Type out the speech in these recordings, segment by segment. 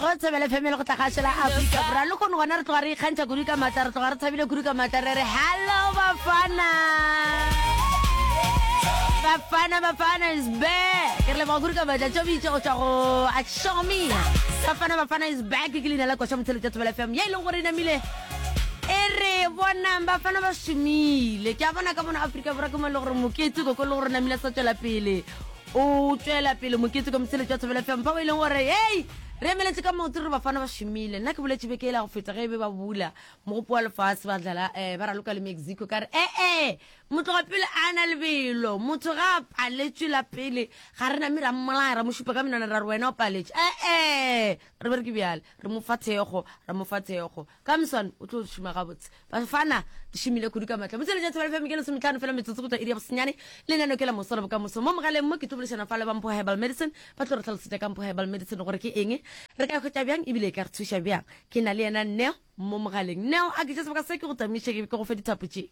Go Thobela FM le go tla gašo la Afrika Borwa. Le kgone gona re tloga re ikgantšha kudu ka maatla, re tloga re thabile kudu ka maatla, re re hello Bafana. Bafana Bafana is back. Re leboga kudu ka maatla tšo bitše go tšwa go Ashomia. Bafana Bafana is back ke leina la koša motheletša Thobela FM ye e leng gore e namile e re bonang bafana ba šomile. Ke a bona ka mona Afrika Borwa ke mo e le gore mokete koko le gore namile sa tšwela pele. O tšwela pele mokete ka motheletši wa Thobela FM fao e leng gore hei re emeletše ka maoto re bafana ba šomile. Nna ke boletše beke e la go feta ge e be ba bula mogopo wa lefase ba dlala um ba raloka le Mexico ka re ee motloga pele a na lebelo motho ga a paletšwe la pele ga re name ra mmolaya ra mo šupa ka menwana ra re wena o paletše ee re be re ke bjale re mo fa thekgo ra mo fa thekgo Ka moswane o tlo šoma gabotse. Bafana di šomile kudu ka matla. Motšweletši wa Thobela FM ke lesometlhano fela metsotso go tšwa iri ya bosenyane. Lenaneo ke la moso la bokamoso. Mo mogaleng mo ke tlo boledišana fa le ba Mpho Herbal Medicine. Ba tlo re hlalosetša ka Mpho Herbal Medicine gore ke eng, re ka e hwetša bjang ebile e ka re thuša bjang. Ke na le yena Neo mo mogaleng. Neo, a ke tše sebaka se ke go tamiše ke go fe dithapo tše.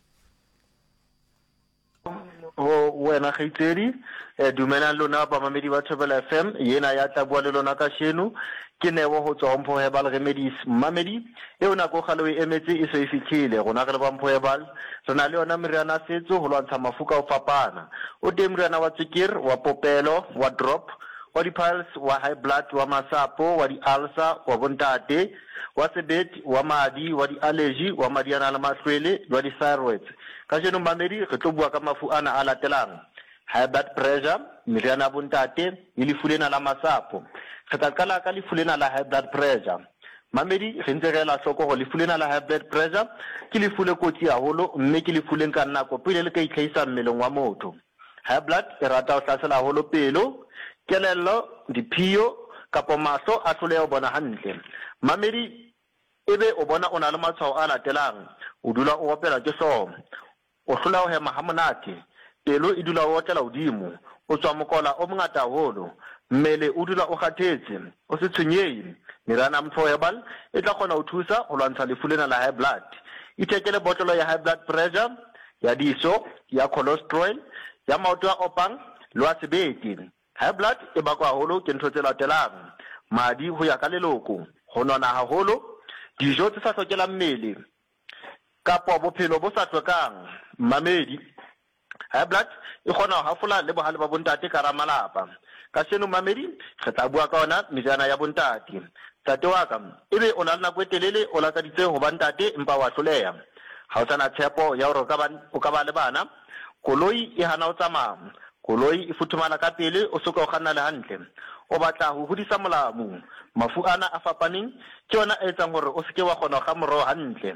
Go wena kgaitsedi, dumelang lona bamamedi ba Thobela FM, yena ya tla bua le lona kasheno ke Neo ho tswa ho Mpho Herbal Remedies. Mmamedi, eo nako kgale o e emetse e se e fihlile. Rona re le ba Mpho Herbal re na le yona meriana ya setso ho lwantsha mafu ka ho fapana. O teng moriana wa tswekere, wa popelo, wa drop, wa di-piles, wa high blood, wa masapo, wa di-ulcer, wa bontate, wa sebete, wa madi, wa di-allergy, wa madi a nang le mahlwele le wa di-thyroids. Kajeno mmamedi re tlo bua ka mafu ana a latelang, High blood pressure, meriana ya bontate, le lefu lena la masapo. Re tla qala ka lefu lena la high blood pressure. Mmamedi re ntse re ela hloko hore lefu lena la high blood pressure ke lefu le kotsi haholo mme ke lefu le nkang nako pele le ka itlhahisa mmeleng wa motho. High blood e rata ho hlasela haholo pelo, kelello, diphio kapo mahlo a hloleha ho bona hantle. Mmamedi Ebe o bona o na le matshwao a latelang, o dula o opelwa ke hlooho, o hlola ho hema hamonate, pelo e dula o otlela hodimo, o tswa mokola o mongata haholo, mmele o dula o kgathetse, o se tshwenyehe. Meriana ya Mpho Herbal e tla kgona ho thusa ho lwantsha lefu lena la high blood. Ithekele botlolo ya high blood pressure, ya diso, ya cholesterol, ya maoto a opang le wa sebete. High blood e bakwa haholo ke ntho tse latelang, madi ho ya ka leloko, ho nona haholo, dijo tse sa hlokelang mmele, kapo bophelo bo sa hlwekang. Mmamedi, High blood e kgona ho hafola le bohale ba bontate ka hara malapa. Kasheno mmamedi, re tla bua ka yona meriana ya bontate. Ntate wa ka, ebe o na le nako e telele o lakaditse ho ba ntate empa wa hloleha. Ha o sa na tshepo ya hore o ka ba o ka ba le bana. Koloi e hana ho tsamaya. Koloi e futhumala ka pele o soka o kganna le hantle. O batla ho hodisa molamu. Mafu ana a fapaneng ke ona a etsang hore o se ke wa kgona ho kga moroho hantle.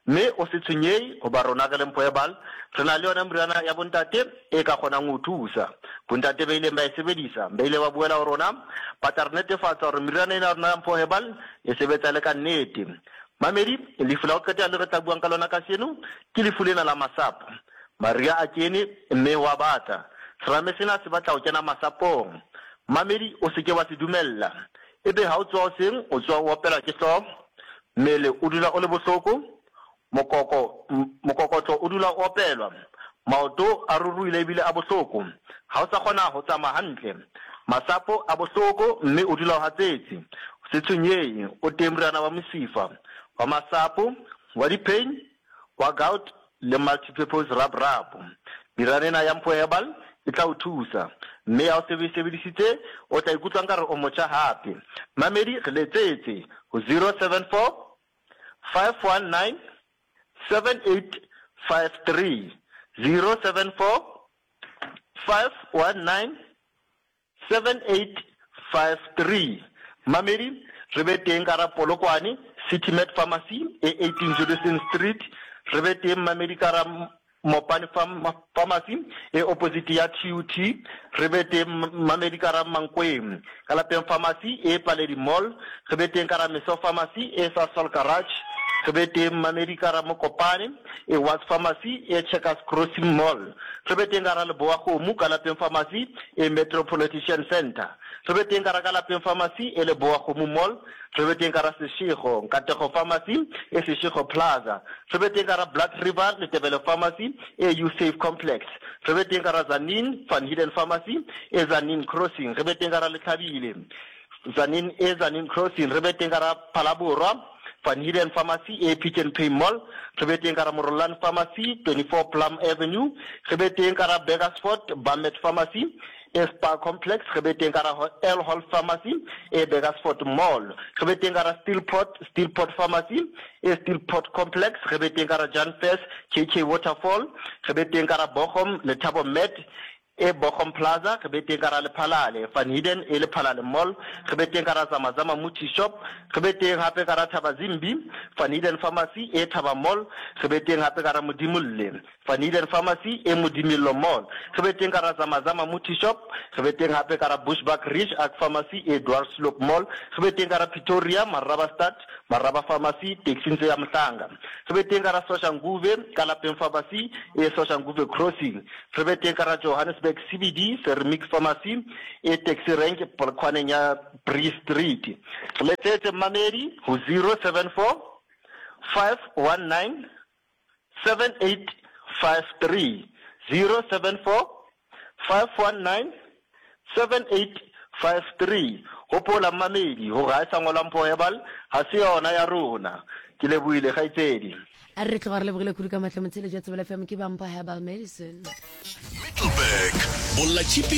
Mme o se tshwenyehe hoba rona re le Mpho Herbal re na le yona meriana ya bontate e ka kgonang ho o thusa. Bontate ba ileng ba e sebedisa ba ile ba boela ho rona ba tla re netefatsa hore meriana ena ya rona ya Mpho Herbal e sebetsa e le ka nnete. Mamedi, lefu la ho qetela le re tla buang ka lona kajeno ke lefu lena la masapo. Mariha a kene mme ho a bata. Serame sena se batla ho kena masapong. Mmamedi, o se ke wa se dumella. Ebe ha o tsoha hoseng, o tsoha o opelwa ke hlooho, mmele o dula o le bohloko, mokoko, mokokotlo o dula o opelwa, maoto a ruruhile ebile a bohloko, ha o sa kgona ho tsamaya hantle, masapo a bohloko mme o dula o hatsetse. Se tshwenyehe, o teng moriana wa mosifa, wa masapo, wa di-pain, wa gout le multi-purpose rub rub. Meriana ena ya Mpho Herbal e tla o thusa, mme ha o se o e sebedisitse o tla ikutlwa nkare o motjha hape. Mamedi re letsetse ho 074 519 7853, 074 519 7853. Mamedi, re be teng ka ra Polokwane, City Med Pharmacy e 18 Judison Street. Re be teng Mamedi ka ra Mopani Pharmacy e opposite ya TUT. Re be teng Mamedi ka ra Mankweng, ka lapeng Pharmacy e Paledi Mall. Re be teng ka ra Meso Pharmacy e Sasol Garage. Re be teng Mamedi ka ra Mokopane e Watts Pharmacy e Checkers Crossing Mall. Re be teng ka ra Lebowakgomo ka lapeng Pharmacy e Metropolitian Centre. Re be teng ka ra ka lapeng Pharmacy e Lebowakgomo Mall. Re be teng ka ra Seshego Nkatego Pharmacy e Seshego Plaza. Re be teng ka ra Blood River Letebele Pharmacy e U-Safe Complex. Re be teng ka ra Tzaneen Van Heerden Pharmacy e Tzaneen Crossing. Re be teng ka ra Letlhabile. Tzaneen e Tzaneen Crossing, re be teng ka ra Phalaborwa, Van Heerden Pharmacy e Pick n Pay Mall, re be teng ka ra Morolane Pharmacy, 24 Plum Avenue, re be teng ka ra Burgersfort, Bamet Pharmacy e Spar Complex, re be teng ka ra Earl Hall Pharmacy e Burgersfort Mall, re be teng ka ra Steelport, Steelport Pharmacy e Steelport Complex, re be teng ka ra Jan Fers, KK Waterfall, re be teng ka ra Bochum, Lethabo Med E Bochum Plaza, re be teng ka ra Lephalale, Van Heerden e Lephalale Mall, re be teng ka ra Zama Zama Muti Shop, re be teng hape ka ra Thabazimbi, Van Heerden Pharmacy e Thaba Mall, re be teng hape ka ra Modimolle, Van Heerden Pharmacy e Modimillo Mall, re be teng ka ra Zama Zama Muti Shop, re be teng hape ka ra Bushbuckridge Ag Pharmacy e Dwarsloop Mall, re be teng ka ra Pretoria, Marabastad, Maraba Pharmacy, taxing tse ya Mhlanga, re be teng ka ra Soshanguve, ka Lapeng Pharmacy e Soshanguve Crossing, Re be teng ka ra Johannesburg CBD, Sermik Pharmacy e taxi rank polokwaneng ya Bree Street. Re letsetse mmamedi ho 074 519 7853, 074 519 7853. Hopola mmamedi hore ha e sa ngolwa Mpho Herbal ha se yona ya rona. Ke lebohile kgaitsedi. A re tloga re lebogile kudu ka mahlo motheeletši wa Tsebelo FM ke ba Mpho Herbal Medicine. Middelburg, Bollatšhipi.